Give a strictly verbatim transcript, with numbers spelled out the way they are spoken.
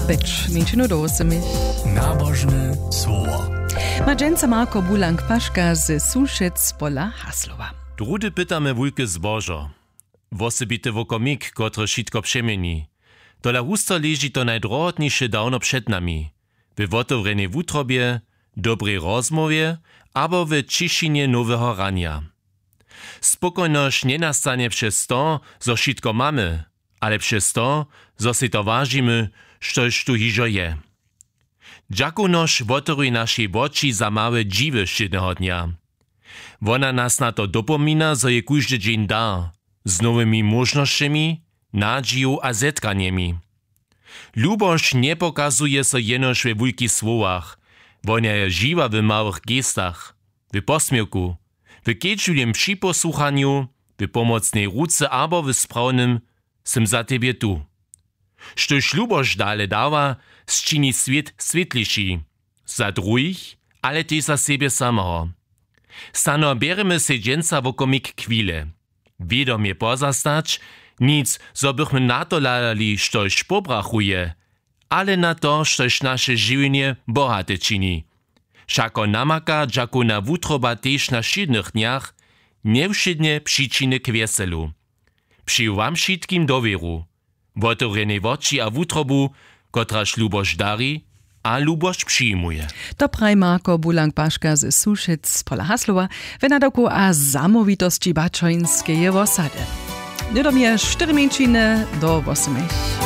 Pjeć mjeńšinu do wósymich. Nabožne słowo. Ma dźensa Marko Bulank Paška ze Sušec pola Haslowa. Druhdy pytamy wulke zbožo. Wosebity wokomik, kotryž wšitko přeměni. Tola husto leži to najdrohotniše dawno před nami. We wotewrjenej wutrobje, dobrej rozmołwje abo we ćišinje noweho ranja. Spokojnosć njenastanje přez to, zo wšitko mamy, ale přez to, zo sej to wažimy, štož tu hižo je. Dźakownosć wotewri našej woči za małe dźiwy wšědneho dnja. Wona nas na to dopomina, zo je kóždy dźeń dar, z nowymi móžnosćemi, nadźiju a zetkanjemi. Lubosć njepokazuje so jenož we wulkich słowach, wona je žiwa w małych gestach, w posměwku, w kedźbliwym připosłuchanju, w pomocnej ruce abo w sprawnym „Sym za tebje tu“. Štož lubosć dale dawa, sčini swět swětliši, za druhich, ale tež za sebje sameho. Snano bjerjemy sej dźensa wokomik chwile, wědomje pozastać, nic zo bychmy na to hladali, štož pobrachuje, ale na to, štož naše žiwjenje bohate čini. Wšako namaka dźakowna wutroba tež na wšědnych dnjach, njewšědnje přičiny k wjeselu. Přeju wam wšitkim dowěru, wotewrjenej woči a wutrobu, kotraž lubosć dari a lubosć přijimuje. To praji Marko Bulank Paška ze Sušec pola Haslowa w nadawku a zamołwitosći Baćońskeje wosady. Hnydom je štyri mjeńšiny do wosymich.